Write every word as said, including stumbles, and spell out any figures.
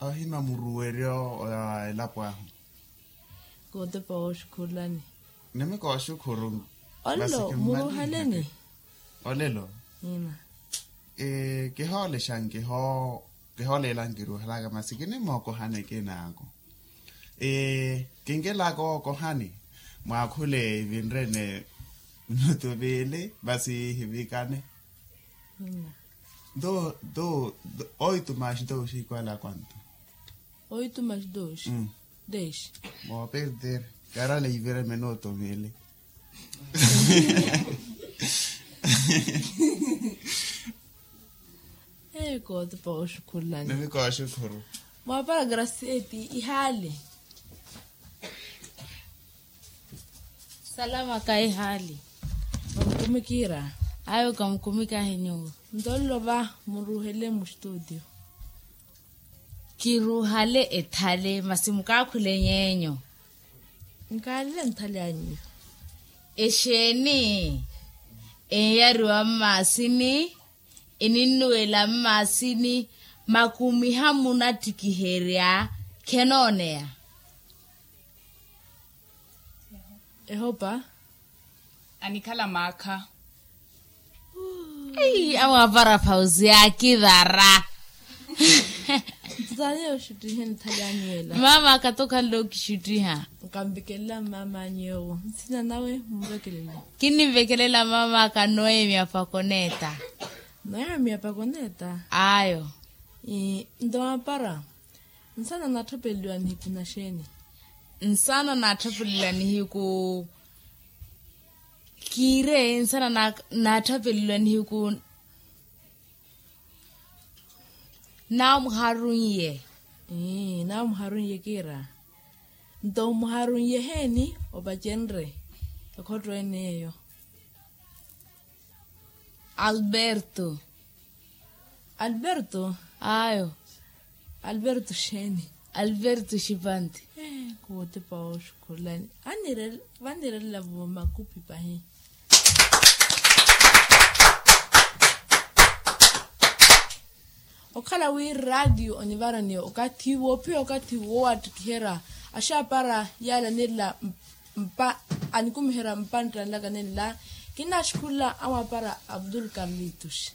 Ohima muruweryo wa elapo ahu. Kootepa wooxukhulani. Nimi kooxukhuru. Olelo muruheleni. Olelo. Kihoolexanki ho. Kihoolelanki ruhelaka masi kinimookohani kinaako. Kinkelaka ookohani. Mwaakhule ivinrene. Minutu viili masi hivikane. Nto nto oito mais dois igual a quanto? Oito mais dois. Dez. Vou perder. Caralho, aí vira minuto mili. Eyo kootepa wooxukhulani. Nimi kooxukhuru. Mwaapara grasieti ihaali. Salama kahihaali. Kamukumikira. Ayo kamukumikahi nyuwo. Nto nlova muruhele mu studio. Kiruhale ethale masi mukaakhule nyeenyu. Nkaalele nthale anyu. Exeeni enyariwa mmaasini eninnuwela mmaasini makumiha munattikiherya khenooneya. Ehopa. Anikhala maakha. Amwapara phausi yaakivara. Ntutaniye oxuttihe nthali anyu ela. Mama akatokhanle okixuttiha. Nkamvekelela mama anyu ewo nsina nawe mumvekelele. Kinimvekelela mama akanoye miyapakoneta. Nawe miyapakoneta. Ayo. Nto mapara. Nsana naatthapeleliwa nihiku na xeeni? Nsana naatthapeleliwa nihiku. Kiire nsana naatthapeleliwa nihiku. Naamuharunye. Naamuharunye kiira. Nto muharunye heeni opacenre? Ekhotto ene eyo. Alberto. Alberto. Ayo. Alberto xeeni? Alberto xipanti. Kootepa wooxukhulani. Vanirelavo makupi pahi. Okhala wi raatiyo onivaraniye okathi woophiya okathi woowattikiherya axaapara yaala nenla. Mpa anikumiherya mpantta nlaka nenla. Kinaaxukhula amwaapara abdul karlitos.